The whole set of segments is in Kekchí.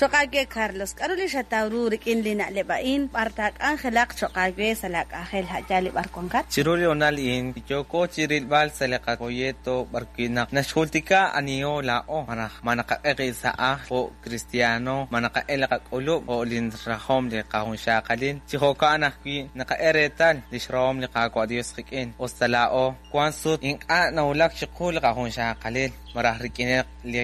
Cho'q aawe Carlos, k'aru li xataw ru rik'in li na'leb' a'in, b'ar taak'anjelaq cho'q aawe sa' laak'anjel a' yaal li b'ar wankat? Chiru li hoonal a'in, yooko chirilb'al sa' li qafolleto b'ar wi' naq naxjultika aniho laa'o, malaj ma naqak'e qib' sa' ajl jo' kristiano, ma naqak'e li qak'ulub' jo' li rajom li qajunxaqalil. Chi jo'kan ajwi' naqak'e reetal lix rahom li Qaawa' Dios qik'in, us ta laa'o wan sut ink'a' nawulak chiqu li qajunxaqalil, malaj rik'ineb' li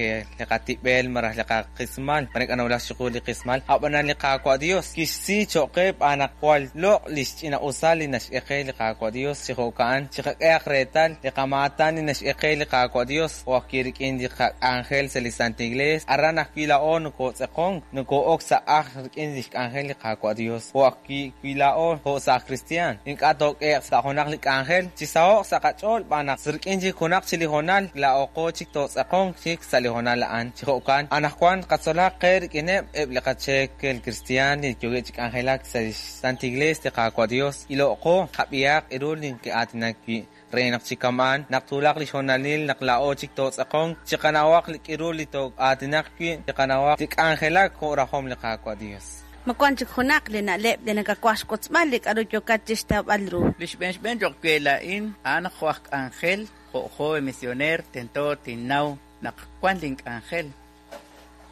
qatib'el malaj li qaqismal, mare ink'a' nawulak chiqu li qismal. A'b'anan li Qaawa' Dios kixsi choq' qe xb'aan naq jwal loq' lix ch'ina-usal li naxk'e qe li Qaawa' Dios. Chi jo'ka'an, chiqak'ehaq reetal li qamaatan li naxk'e qe li Qaawa' Dios, jo' ajwi' rik'in li qak'anjel sa' li Santil Iglees. Aran ajwi' laa'o nokotz'eqonk, noko'ok sa' ajl rik'in lix k'anjel li Qaawa' Dios, jo' ajwi' wi laa'o jo' saaj kristiaan ink'a' took'ehe'q sa' junaq li k'anjel, chisaho'q sa' qach'ool xb'aan naq rik'in chik junaq chik li hoonal laa'oqo chik tootz'aqonq chik sa' li hoonal a'an. Chi jo'kan, anaqwan qatzolaq qe rik'ineb' eb' li qacheekel kristiaan li yookeb' chi k'anjelak sa' lix Santil Iglees li Qaawa' Dios, ilo'qo, qab'ihaq ru li neke'aatinak wi', re naq chi kama'an, naq twulaq li xhoonalil naq laa'o chik tootz'aqonq, chiqanawaq li k'iru li too'aatinaq wi', chiqanawaq li k'anjelak jo' rajom li Qaawa' Dios. Ma wank chik junaq li na'leb' li nakawaj xwotzb'al li k'aru yookat chi xtawb'al ru? Li xb'een xb'een choq' we laa'in, a'an naq jo' aj k'anjel, jo' joven misioneer, tento tinnaw naq wan lin k'anjel,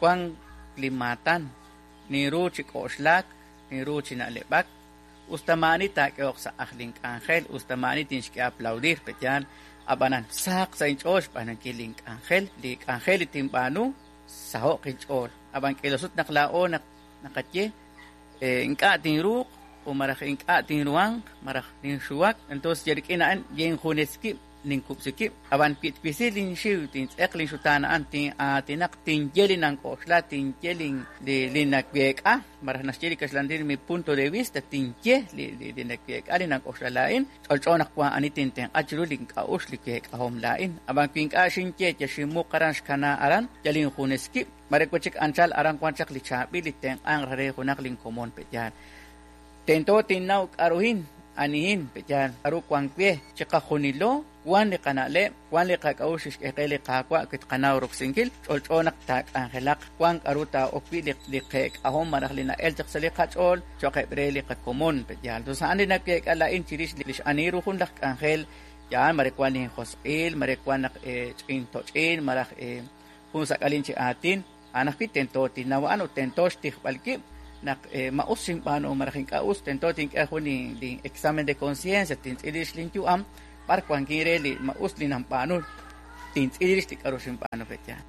wan lin maatan, ninru chi k'oxlak, ninru chi na'leb'ak, us ta maa'ani taak'ehoq sa' ajl lin k'anjel, us ta maa'ani tinxk'e aplaudir, pe' yaal, a'b'anan sahaq sa' inch'ool xb'aanunkil lin k'anjel, li k'anjel li tinb'aanu, saho'q inch'ool. Ab'an k'iila sut naq laa'o naq naqaye ink'a' tinruuq o malaj ink'a' tinruhanq malaj ninxuwak, entonces yal rik'in a'an yenjunes wib' ninkub'si wib'. Ab'an wi twisi linxiw, tintz'eq linxutaan a'an, tin'aatinaq, tinye li nank'oxla, tinye li naweek'a, malaj naxye li kaxlan aatin mi punto de vista, tinye li naweek'a, li nank'oxla laa'in, ch'olch'o naq wank ani tintenq'a chiru link'a'uxl, li week'ahom laa'in. Ab'an wi ink'a' xinye, yal xinmuq aran xkana aran, yal injunes wib', mare wi' chik anchal aran wank chaq li chaab'il li tenq'anq re junaq linkomon pe' yaal. Tento tinnaw k'a'ruhin, anihin, pe' yaal, k'a'ru wank we. Chiqajunilo wank li qana'leb', wank li qak'a'uxl xk'e qe li Qaawa' wi tqanaw roksinkil, ch'olch'o naq taak'anjelaq, wank k'a'ru taa'ok wi' li qeek'ahom malaj li na'el chaq sa' li qach'ool cho'q eb' re li qakomon, pe' yaal. Tos a'an li naweek'a laa'in chirix lix ani ru jun laj k'anjel, yaal, mare wank linjosq'il, mare wank naq ch'in toch'in malaj jun sak'alin chi aatin, a'an ajwi' tento tinnaw a'an ut tento xtijb'al wib' naq ma us xinb'aanu malaj ink'a' us, tento tink'e jun lin examen de conciencia, tintz'il rix linyu'am, b'ar wankin re li ma us li nanb'aanu, tintz'il rix li k'a'ru xinb'aanu pe' yaal.